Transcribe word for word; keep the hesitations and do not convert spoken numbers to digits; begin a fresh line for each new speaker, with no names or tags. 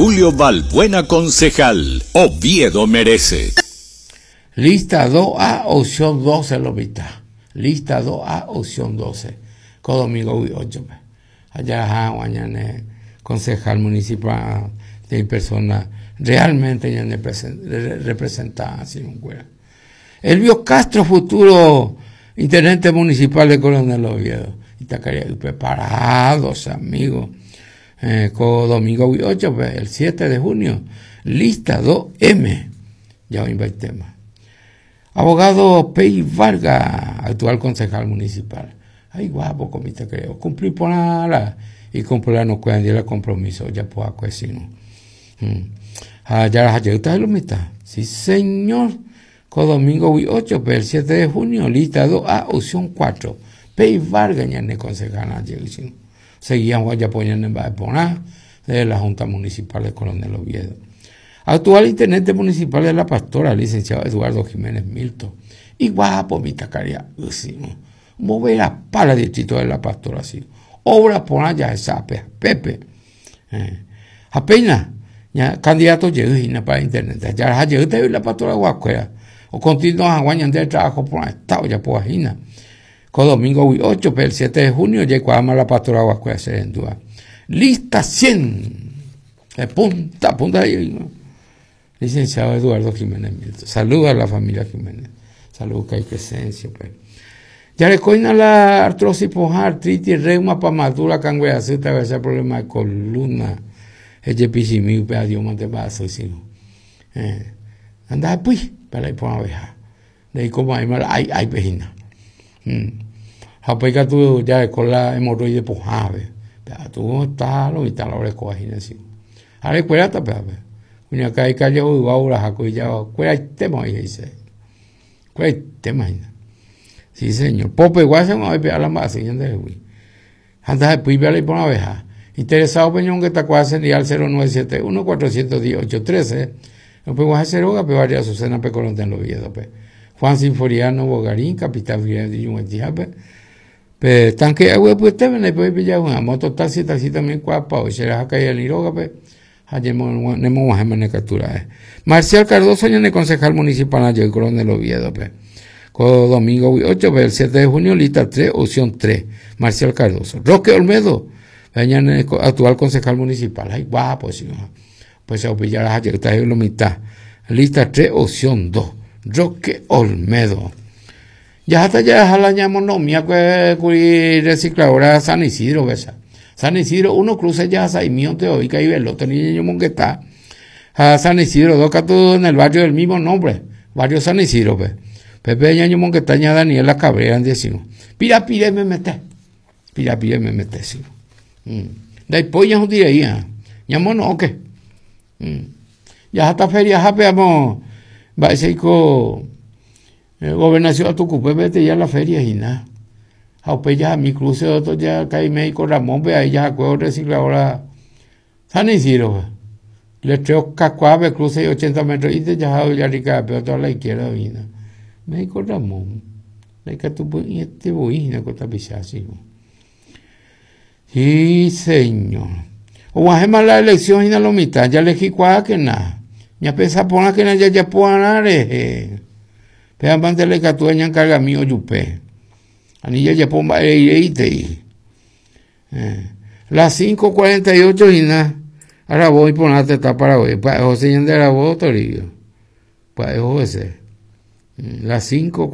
Julio Balbuena concejal. Oviedo merece.
Lista dos A, opción doce, lo mitad. Lista dos A, opción doce. Ko domingo ocho. Allá, mañana, concejal municipal de persona realmente ya representada así un cuera. Elvio Castro, futuro intendente municipal de Coronel Oviedo. Y está preparados, amigos. Eh, con domingo ocho, pues, el siete de junio. Lista dos M. Ya hoy va el tema. Abogado Pey Vargas, actual concejal municipal. Ay, guapo, comita creo. Cumplir por nada. Y cumplir no cuidan el compromiso. Ya puedo si no. Ah, ya las está lo mitad. Sí, señor. Con domingo ocho, pues, el siete de junio, lista dos A, opción cuatro. Pey Vargas, ya ne concejal, seguían ya poniendo en Baepona de la Junta Municipal de Coronel Oviedo. Actual intendente municipal de La Pastora, licenciado Eduardo Jiménez Milton. Y guapo, mi tacaría, mover a pala distrito de La Pastora, sí. Obra por allá, esa Pepe. Eh. Apenas, ya, candidato llegó para intendente. Ya llegó de La Pastora Guacuera. O continúa aguantando el trabajo por el estado, ya por ajina. Con domingo ocho, el siete de junio, llegó a La Pastora Guacuera, se endúa. Lista cien. De punta a punta ahí, ¿no? Licenciado Eduardo Jiménez Milton. Saluda a la familia Jiménez. Saludos que hay presencia, pues. Ya le coina la artrosis, poja, artritis, reuma, pamadura, cangüea, a veces problema de columna. Ella pichimí, pues, adiós, mate, vaso, y si no. Eh, anda, pues, para ir por una abeja. De ahí como hay mal, ay, ay, pejina. Mm. Japeca tú ya con la hemorroide poja, ve. Pero tú estás, lo mitad la hora de cojina, sí. Ahora, cuídate, pero, ve. Uña cae calle o ahora jaco y ya cuida el tema ahí dice. Cuida el tema ahí. Sí, señor. Pope igual se me va a pegar la masa, señor de Luis. Anda después ve a la por una abeja. Interesado peñón que está cuasi en al cero nueve siete uno cuatrocientos diez ocho trece. No puedo hacer oga, pero varias Azucena pe Colón en Oviedo, pe. Juan Sinforiano Bogarín, capitán de Yunguetijape. Pe tanque agua pues te ven pues pillar una moto taxi taxi también cuapa o será acá y el Iroga pe. Marcial Cardoso, ñane concejal municipal de Coronel Oviedo, pe. Codo domingo ocho, el siete de junio, lista tres, opción tres. Marcial Cardoso. Roque Olmedo, ñane actual concejal municipal. Ay, guapo, sí, ¿no? Pues se pillar las está en la mitad. Lista tres, opción dos. Roque Olmedo. Ya hasta ya la llamonomía que recicladora San Isidro, ¿ves? San Isidro, uno cruce ya a mío te oiga y ve el otro niño monguetá. A San Isidro, dos todo en el barrio del mismo nombre, barrio San Isidro, pues. Pepe ñaño monguetá, ña Daniela Cabrera, decimos. Pira, pira, me mete. Pira, pira, me mete, sí. Mm. De ahí polla un día ahí, ñamo no, ¿qué? Mm. Ya hasta feria, ya veamos, va a ser con gobernación a tu cupe, vete ya a la feria y nada. A ya mi cruce otro ya cae médico Ramón, ve ahí ya acuerdo recicladora San Isidro. Le treo cacuave, cruce y ochenta metros y te ya ya rica, pero toda la izquierda vino. Médico Ramón, la que tu y este voy na cota pichasi. Sí, señor. O guajema la elección y na lo mitad, ya le jicuá que na. Ya pesa pona que na ya ya puanare. Pero antes le catúa ñan carga mío yupe. Anilla ya pomba e Las cinco cuarenta y ocho y nada. Ahora voy por una teta para hoy. Pa José de Arabó Toribio. Pa José. Las cinco